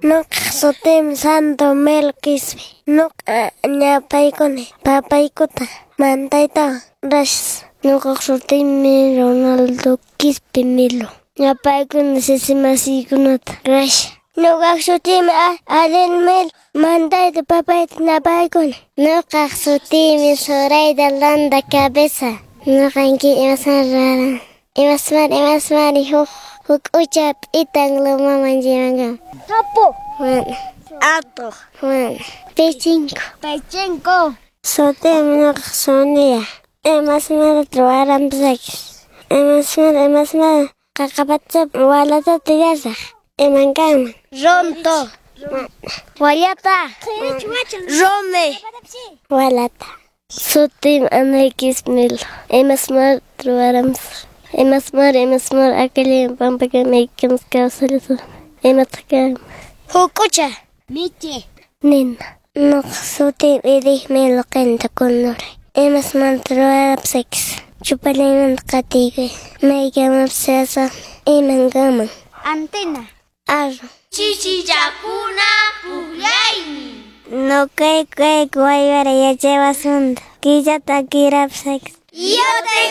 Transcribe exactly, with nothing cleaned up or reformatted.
Nuqaq sutiymi Santo Melo Quispe. Nuqa ñapaykuni papaykuta mantaytawan. Gracias. Nuqaq sutiymi Ronaldo Quispe Melo. Ñapaykuni sisi masiykunata. Gracias. Nuqaq sutiymi Adel Melo. Mantayta papayta ñapaykuni. Nuqaq sutiymi Zoraida Landa Cabeza. Nuqanki imasmari ruwaran. Imasmari imasmari huk huk'ucha p'itan lumaman llevanka. Sapo. Mana. Atuq. Mana. Pichinko. Pichinko. Sutiymi nuqaq Sonia. Imasmari ruwaranpis. Imasmari imasmari qaqapachapi walata tillasaq. Iman kanman. Runtu. Wallata. Rumi. Walata. Sutiymi Anay Quispe Melo. Imasmari ruwaranpis. Imasmari imasmari akallayman pampakama kawsallasaq. Imataq kanman. Huk'ucha. Michi. Nina. Nuqaq sutiymi Edith Melo Qinta Kunduray. Imasmanta ruwarapis. Chupallaymanta qatiykuy. Maykamapis chayasaqmi. Iman kanman. Antena. Arru. Chichichakuna pukllaymi. Nuqayku kayku Waywara yachaywasimanta. Killata akirapis. Yo te